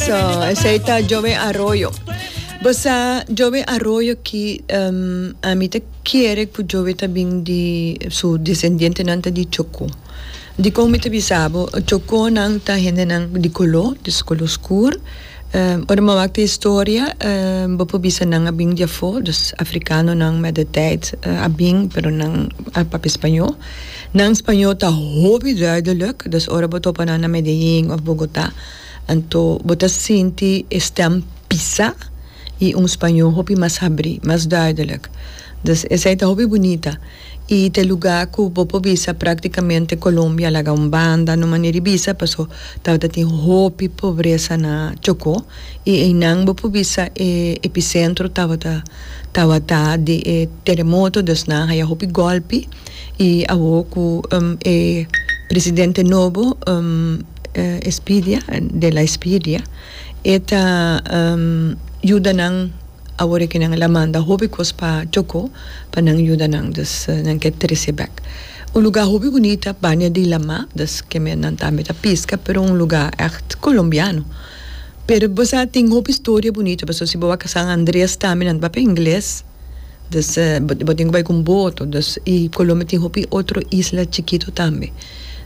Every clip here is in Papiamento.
Eso, esei ta Joe Arroyo. Bo sa Joe Arroyo ki ami ta kere ku Joe ta bin di su desendientenan ta di Chocó. Dikon mi ta bisa bo? Chocónan ta hendenan di koló, dus koló skur. Ora mi a wak e historia bo por bisa nan a bin di afó, dus afrikanonan met de tijd a bin pero nan a papia spañó. Nan spañó ta hopi duidelijk, dus ora bo topa nan na Medellín òf Bogotá anto bo ta sinti e stèm pisá i un spañó hopi mas habrí, mas duidelijk. Dus esei ta hopi bunita. I ta e lugá ku bo por bisa práktikamente Colombia laga un banda no manera di bisa paso tabata tin hopi pobresa na Chocó i einan bo por bisa e episentro tabata tabata di e teremoto dus nan a haya hopi gòlpi i awor ku e presidente nobo Espidia de la Espidia e ta yuda nan. Awor e kinan la manda hopi kos pa Chocó pa nan yuda nan, dus nan ke trese bek. Un lugá hopi bunita, banda di lamá, dus keme nan tambe ta piska, pero un lugá ègt kolombiano. Pero bo sa tin hopi storia bunita, pasobra si bo wak San Andrés tambe nan ta papia ingles, dus bo tin ku bai ku un boto, dus i Colombia tin hopi otro isla chikito tambe.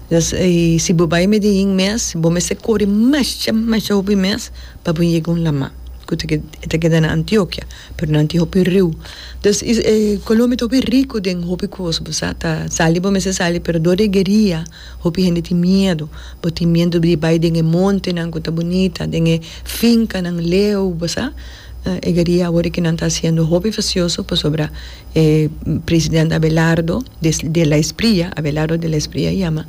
Dus i si bo bai Medellín mes, bo mester kore masha masha hopi mes pa bo yega un lamá ku ta e ta keda na Antiokia, pero nan tin hopi riu. Dus e Colombia ta hopi riku den hopi kos, bo sa, ta sali bo mester sali, pero dor di e gueria hopi hende tin miedu. Bo tin miedu di bai den e montenan ku ta bunita, den e finkanan leu, bo sa. E gueria awor ki nan ta hasiendo hopi fasioso pasobra e presidente Abelardo de la Espriella, Abelardo de la Espriella yama,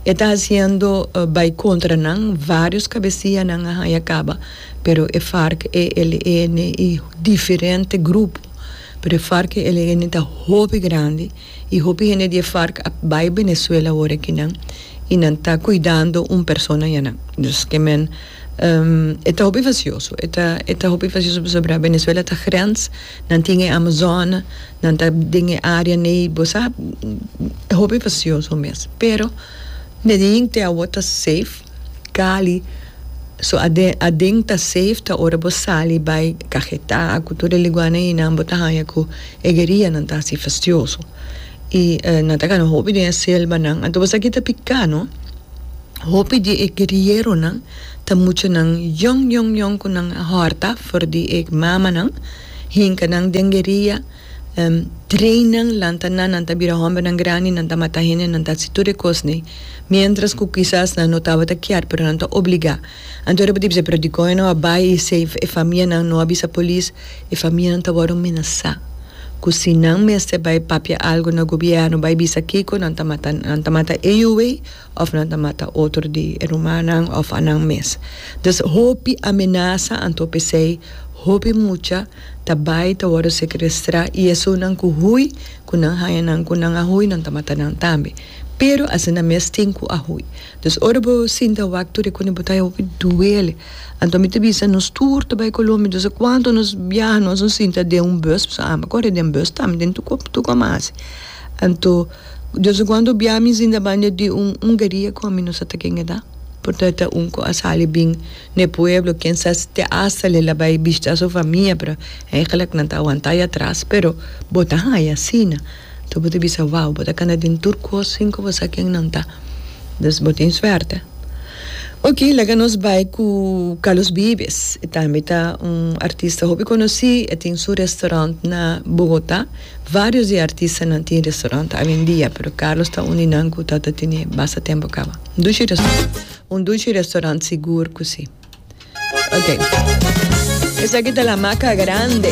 E ta hasiendo bai kontra nan, varios kabesianan a haña kaba, pero e Farc, ELN i diferente grupo, pero e Farc ELN ta hopi grandi i hopi hende di e Farc a bai Venezuela awor akinan i nan ta kuidando un persona ayanan. Dus ke men e ta hopi fasioso, e ta e ta hopi fasioso pasobra Venezuela ta grens, nan tin e Amazone, Nan ta den e área nei, bo sa, hopi fasioso mes. Pero Medellín te awor ta safe, Cali so aden aden ta safe ta ora bo sali bai Cajetá ku tur e liguanan einan bo ta haña ku e guerianan ta hasi fastioso. I nan ta gana hopi den e selvanan. Anto bo sa ki ta piká no, hopi di e guerieronan ta muchanan yòn yòn yòn ku nan a hòrta for di e mamanan. Hinka nan den gueria, train nan, lanta nan, nan ta bira hombernan grandi, nan ta mata hende, nan ta haci tur e cosnan. Mientras cu kisas nan no tabata kier, pero nan ta obliga. Anto ora bo ta bisa, pero dicon e no a bay y si e famianan no a bisa polis, e famianan ta wordo menasa. Cu si nan mester bay papia algo na gobierno, bay bisa kico, nan ta mata, nan ta mata e yuwey of nan ta mata otro di e rumannan of anan mes. Dus hopi amenasa anto p'esei hopi mucha ta bai ta wòrdu sekrestrá i esunnan ku hui ku nan haña nan ku nan a hui nan ta mata nan tambe. Pero asina mes tin ku a hui. Dus ora bo sinta wak tur e kune bo ta haña hopi duele. Anto mi ta bisa nos tur ta bai Colombia dus kuantu nos biaha nos no sinta den un bus pasobra ami a kore den bus tambe den tur kòm a hasi. Anto Dios a cuando bia mi sinta banda di un un gueria cu ami no sa ta ken e ta. Por ta ta un cu a sali bin n'e pueblo, ken sa si te hasta el a bay bishita su famia, pero eigenlijk nan ta awanta ahí atras, pero bo ta haya asina. Enton bo ta bisa wow, bo ta cana den tur cos sin cu bo sa ken nan ta. Dus bo tin suerte. Ok, laga nos bay cu Carlos Vives. E tambe ta un artista hopi conoci, e tin su restaurant na Bogota. Varios di e artistanan tin restaurant awendia, pero Carlos ta un di nan cu ta ta tene basta tempo caba. Un dushi restaurant, un dushi restaurant sigur cu si. Ok. Esaki ta La Maca Grande.